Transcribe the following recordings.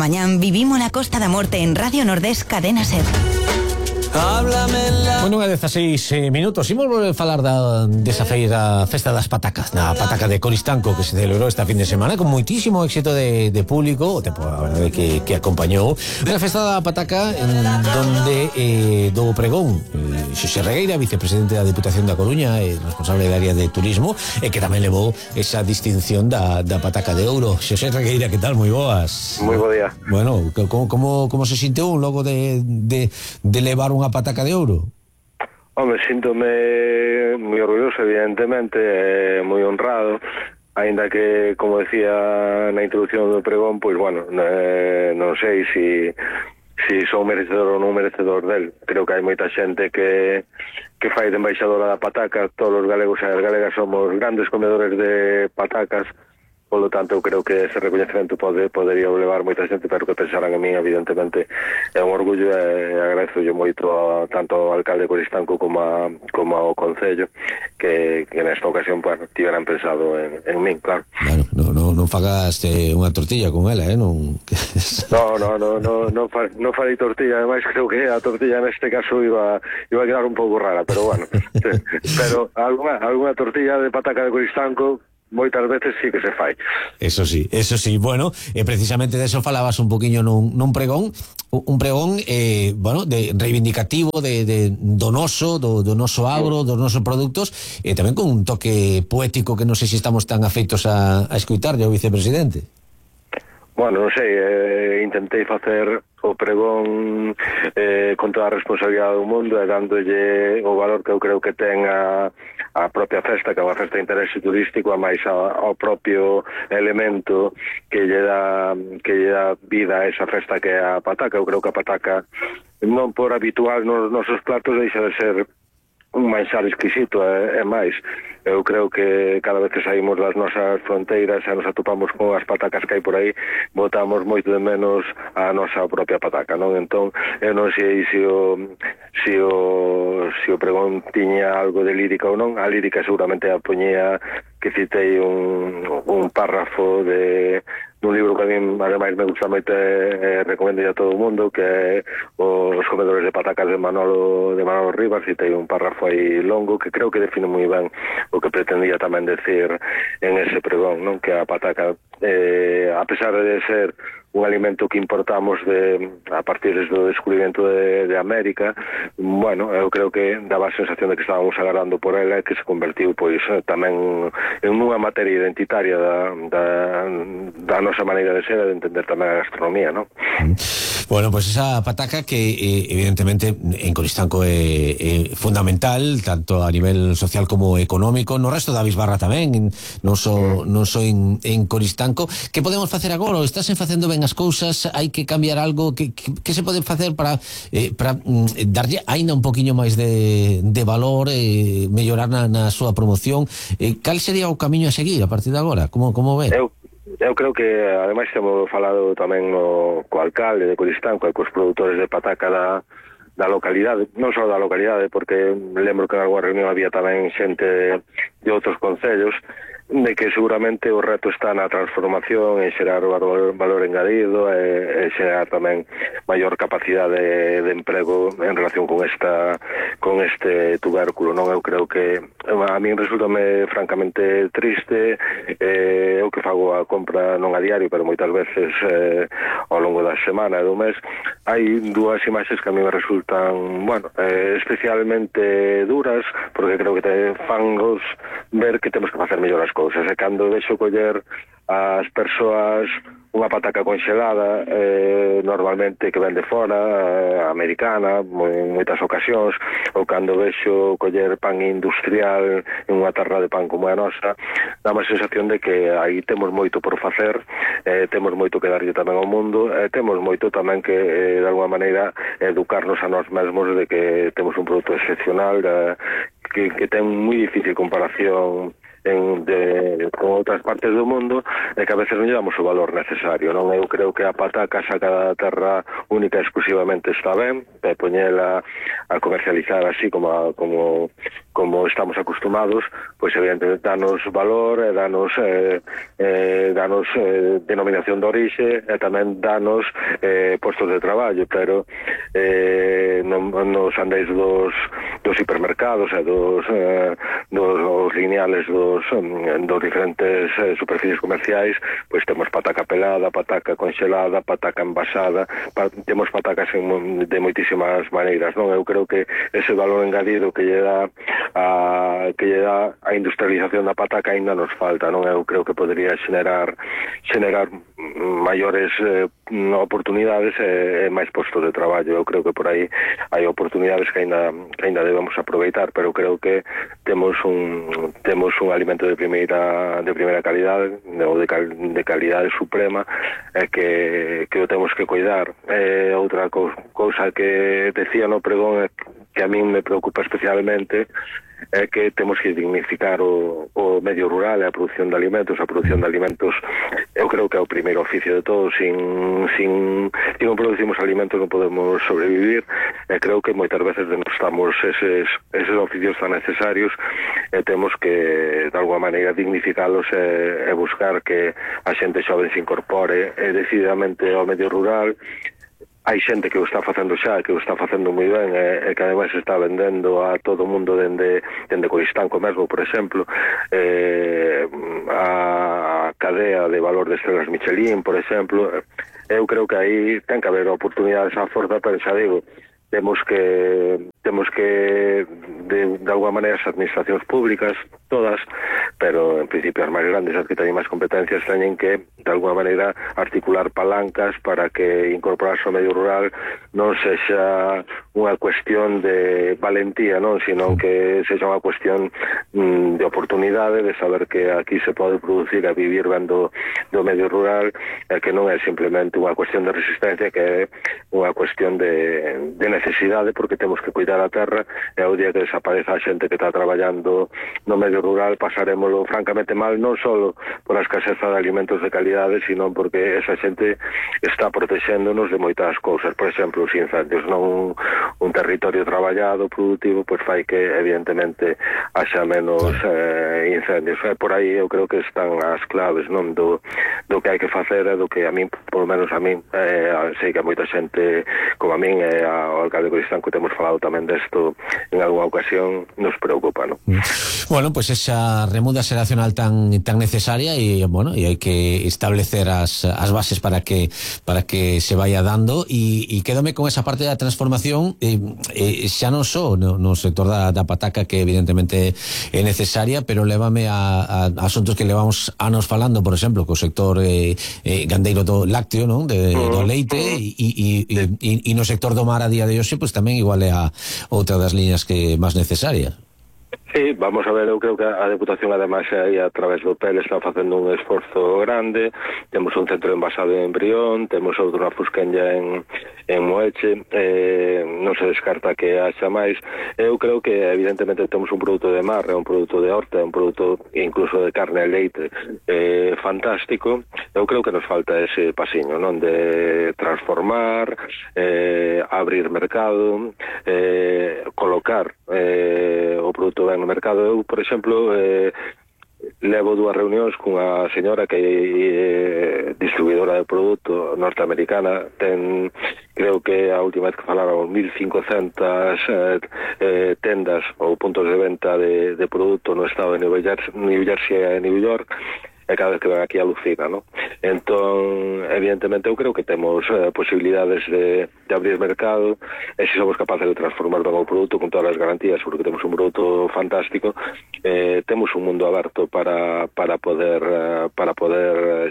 mañán vivimos la Costa da Morte en Radio Nordés Cadena SER. Bueno, unha 16 minutos. Imos volver a falar desa feira Festa das Patacas, na Pataca de Coristanco, que se celebrou esta fin de semana con moitísimo éxito de público, o tempo, a verdade, que acompañou. Unha festa da Pataca donde do pregón Xosé Regueira, vicepresidente da Diputación da Coruña e responsable da área de turismo, e que tamén levou esa distinción da Pataca de Ouro. Xosé Regueira, que tal? Moi boas. Moi bo día. Bueno, como se sintiu logo de levar unha Pataca de Ouro? Home, síntome moi orgulloso, evidentemente, moi honrado, aínda que, como decía na introducción do pregón, pois, bueno, non sei si son merecedor ou non merecedor del. Creo que hai moita xente que fai de embaixadora da pataca. Todos os galegos e as galegas somos grandes comedores de patacas. Polo tanto, eu creo que ese recoñecemento podería levar moita xente, pero que pensaran en mí, evidentemente, é un orgullo, e agradezo moito tanto ao alcalde de Coristanco como ao Concello que nesta ocasión tiveran pensado en min, claro. Bueno, non fagas unha tortilla con ela, non? Non farei tortilla, ademais creo que a tortilla neste caso iba a quedar un pouco rara, pero bueno. Pero alguna tortilla de pataca de Coristanco moitas veces sí que se fai. Eso sí. Bueno, precisamente de eso falabas un poquinho nun pregón, bueno, de reivindicativo do noso agro, dos nosos produtos, e tamén con un toque poético que non sei se estamos tan afeitos a escuitarlle ao vicepresidente. Bueno, non sei, intentei facer o pregón con toda a responsabilidade do mundo e dándolle o valor que eu creo que ten a propia festa, que é unha festa de interese turístico, a máis ao propio elemento que lle dá vida a esa festa que é a pataca. Eu creo que a pataca, non por habitual nos nosos platos, deixa de ser un manxar exquisito, é máis. Eu creo que cada vez que saímos das nosas fronteiras e nos atopamos con as patacas que hai por aí, botamos moito de menos a nosa propia pataca, non? Entón, eu non sei se o pregón tiña algo de lírica ou non. A lírica seguramente a poñía que citei un párrafo dun libro que a mí ademais me gusta moito e recomendo a todo o mundo, que é Os comedores de patacas de Manolo Rivas. Citei un párrafo aí longo que creo que define moi ben o que pretendía tamén decir en ese pregón, non? Que a pataca, a pesar de ser un alimento que importamos a partir do descubrimento de América, bueno, eu creo que daba a sensación de que estábamos agardando por ela, que se convertiu pois tamén en unha materia identitaria da nosa maneira de ser e de entender tamén a gastronomía, non? Bueno, pois esa pataca que evidentemente en Coristanco é fundamental, tanto a nivel social como económico, no resto da Bisbarra tamén, non só en Coristanco. Que podemos facer agora? Estás facendo ben as cousas? Hai que cambiar algo? Que se pode facer para darlle aínda un poquinho máis de valor, mellorar na súa promoción? Cal sería o camiño a seguir a partir de agora? Como ve? Eu creo que, ademais, temos falado tamén co alcalde de Coristanco e cos produtores de pataca da localidade, non só da localidade, porque lembro que en alguna reunión había tamén xente de outros concellos, de que seguramente o reto está na transformación e xerar valor engadido e xerar tamén maior capacidade de emprego en relación con este tubérculo, non? Eu creo que a min resultame francamente triste. Eu que fago a compra non a diario, pero moitas veces ao longo da semana e do mes, hai dúas imaxes que a mí me resultan, bueno, especialmente duras, porque creo que te fangos ver que temos que facer mellor as cousas. E cando vexo coller as persoas unha pataca conxelada, normalmente que ven de fora, americana, en moitas ocasións, ou cando vexo coller pan industrial en unha tarra de pan como a nosa, dá má sensación de que aí temos moito por facer, temos moito que darlle tamén ao mundo, temos moito tamén que, de alguma maneira, educarnos a nós mesmos de que temos un produto excepcional, que ten moi difícil comparación con outras partes do mundo, e que a veces non lle damos o valor necesario, non? Eu creo que a pataca sacada da terra única e exclusivamente está ben, poñela a comercializar así como como estamos acostumados, pois evidentemente danos valor, danos denominación de orixe e tamén danos postos de traballo, pero nos andéis dos hipermercados e dos lineales dos diferentes superficies comerciais, pois temos pataca pelada, pataca conxelada, pataca envasada, temos patacas de moitísimas maneiras, non? Eu creo que ese valor engadido que lle dá a industrialización da pataca ainda nos falta, non? Eu creo que podría xenerar maiores oportunidades e máis postos de traballo. Eu creo que por aí hai oportunidades que ainda debemos aproveitar, pero creo que temos un alimento de primeira calidade, ou de calidade suprema, que o temos que cuidar. Outra cousa que decía no pregón que a min me preocupa especialmente é que temos que dignificar o medio rural e a produción de alimentos. A produción de alimentos eu creo que é o primeiro oficio de todos. Se non producimos alimentos non podemos sobrevivir, e creo que moitas veces denostamos eses oficios tan necesarios, e temos que de alguma maneira dignificalos e buscar que a xente xoven se incorpore decididamente ao medio rural. Hai xente que o está facendo xa, que o está facendo moi ben, e que ademais está vendendo a todo o mundo dende Coristanco mesmo, por exemplo, a cadea de valor de estrelas Michelin, por exemplo. Eu creo que aí ten que haber oportunidades á forza, pero xa digo, temos que de alguma maneira as administracións públicas, todas, pero en principio as máis grandes, as que teñen máis competencias, teñen que de alguma maneira articular palancas para que incorporarse ao medio rural non sexa unha cuestión de valentía, non, sino que sexa unha cuestión de oportunidade, de saber que aquí se pode producir e vivir ben do medio rural, e que non é simplemente unha cuestión de resistencia, que é unha cuestión de necesidade, porque temos que cuidar a terra, e o día que desapareza a xente que está traballando no medio rural pasarémolo francamente mal, non só por a escaseza de alimentos de calidade, sino porque esa xente está protexéndonos de moitas cousas. Por exemplo, os incendios, non un territorio traballado, productivo, pois fai que evidentemente haxa menos incendios. Por aí eu creo que están as claves, non, do que hai que facer, e do que a min, polo menos a min, sei que a moita xente como a min e ao alcalde de Coristanco temos falado tamén desto en algunha ocasión, nos preocupa, non? Bueno, pues esa remuda xeracional tan necesaria, e bueno, e hai que establecer as bases para que se vaya dando, e quédome con esa parte da transformación, xa non só no sector da pataca, que evidentemente é necesaria, pero lévame a asuntos que levamos anos falando, por exemplo, co sector gandeiro do lácteo, non, do leite, e no sector do mar a día de hoxe, pues tamén igual é a outra das liñas que máis necesarias. Sí, vamos a ver, eu creo que a Deputación ademais aí a través do PEL está facendo un esforzo grande. Temos un centro envasado en Brión, temos outro na Fusquenlla en Moeche, non se descarta que haxa máis. Eu creo que evidentemente temos un produto de mar, un produto de horta, un produto incluso de carne e leite fantástico. Eu creo que nos falta ese pasiño, non, de transformar, abrir mercado, colocar o produto ben no mercado. Eu, por exemplo, levo 2 reunións cunha señora que é distribuidora de produto norteamericana. Ten, creo que a última vez que falaron, 1.500 tendas ou puntos de venta de produto no estado de New Jersey e New York, e cada vez que ven aquí alucina, non? Entón, evidentemente, eu creo que temos posibilidades de abrir mercado, e se somos capaces de transformar ben o produto con todas as garantías, porque temos un produto fantástico, temos un mundo aberto para poder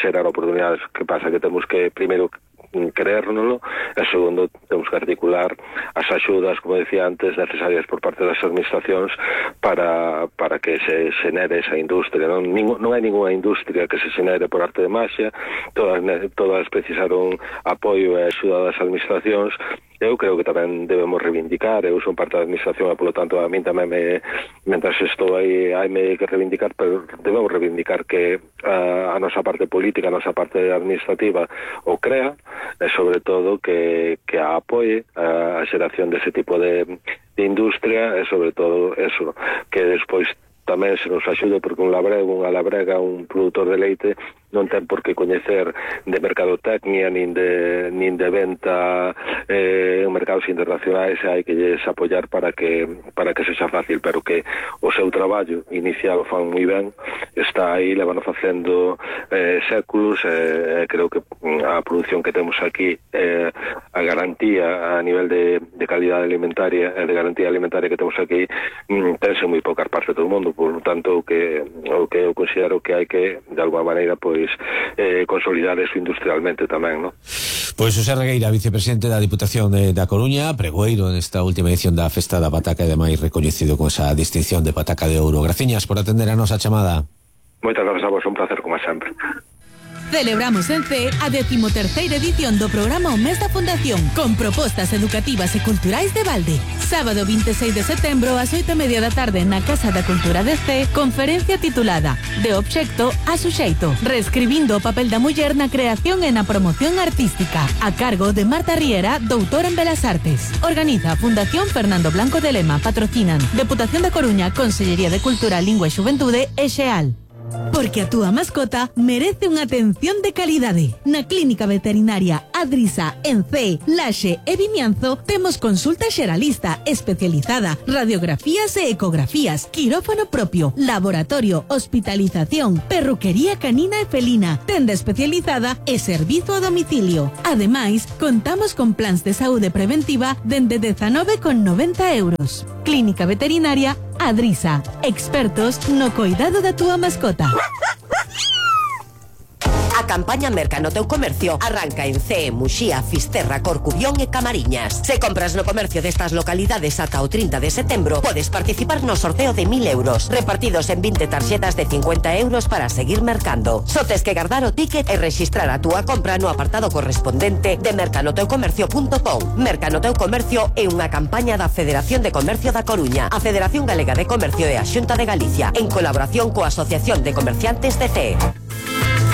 xerar oportunidades. Que pasa? Que temos que, primeiro, creérnoslo, e segundo, temos que articular as axudas, como decía antes, necesarias por parte das administracións para que se xenere esa industria. Non hai ninguna industria que se xenere por arte de maxia, todas precisaron apoio e axuda das administracións, eu creo que tamén debemos reivindicar. Eu son parte da administración e, polo tanto, a min tamén mentras estou aí, haime que reivindicar, pero debemos reivindicar que a nosa parte política, a nosa parte administrativa o crea, e sobre todo que a apoie a xeración dese tipo de industria, e sobre todo eso, que despois tamén se nos axude, porque unha labrega, un produtor de leite non ten por que coñecer de mercadotecnia nin de venta en mercados internacionais. Hai que lles apoiar para que sexa fácil, pero que o seu traballo inicial o fan moi ben, está aí, levano facendo séculos. Creo que a produción que temos aquí, a garantía a nivel de calidade alimentaria e de garantía alimentaria que temos aquí, tense moi poucas partes do mundo. Por lo tanto, o que eu considero que hai que, de alguma maneira, pois consolidar eso industrialmente tamén, ¿no? Pois José Regueira, vicepresidente da Diputación da Coruña, pregoeiro nesta última edición da Festa da Pataca e demais recoñecido con esa distinción de Pataca de Ouro. Graciñas por atender a nosa chamada. Moitas grazas a vos, un placer como sempre. Celebramos en CEE a 13ª edición do programa O Mes da Fundación, con propostas educativas e culturais de balde. Sábado 26 de setembro ás 8:30 da tarde na Casa da Cultura de CEE, conferencia titulada De obxecto a suxeito, reescribindo o papel da muller na creación e na promoción artística, a cargo de Marta Riera, doutora en Belas Artes. Organiza a Fundación Fernando Blanco de Lema, patrocinan Deputación da Coruña, Consellería de Cultura, Lingua e Xuventude e Xeal. Porque a túa mascota merece unha atención de calidade. Na Clínica Veterinaria Adrisa, en CEE, Laxe e Vimianzo, temos consulta xeralista especializada, radiografías e ecografías, quirófano propio, laboratorio, hospitalización, perruquería canina e felina, tenda especializada e servizo a domicilio. Ademais, contamos con plans de saúde preventiva dende 19,90 €. Clínica Veterinaria Adrisa, expertos no cuidado da túa mascota. A campaña Merca no teu comercio arranca en CEE, Muxía, Fisterra, Corcubión e Camariñas. Se compras no comercio destas localidades ata o 30 de setembro, podes participar no sorteo de 1.000 €, repartidos en 20 tarxetas de 50 € para seguir mercando. Só tes que guardar o ticket e rexistrar a túa compra no apartado correspondente de mercanoteucomercio.com. Merca no teu comercio é unha campaña da Federación de Comercio da Coruña, a Federación Galega de Comercio e a Xunta de Galicia, en colaboración coa Asociación de Comerciantes de CEE.